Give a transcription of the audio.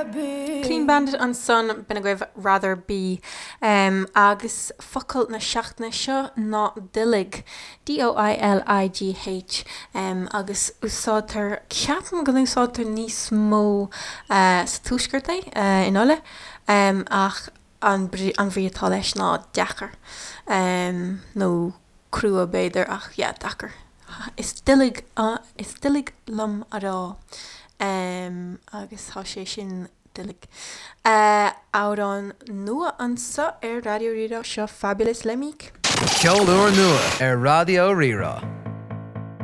Clean Bandit ansan, b'in agaibh Rather Be. Agus focal na seachtaine seo ná doiligh, D-O-I-L-I-G-H, agus úsáidtear, ceapaim go n-úsáidtear níos mó sa tuaisceart é, in Ulaidh, ach an bhrí atá leis ná deacair, nó crua b'fhéidir, ach yeah, deacair. Is doiligh, is doiligh liom a rá, agus tá sé sin doiligh. Amhrán nua anseo ar Raidió Rí-Rá, seo Fabolous le Meek. Ceol úrnua ar Raidió Rí-Rá.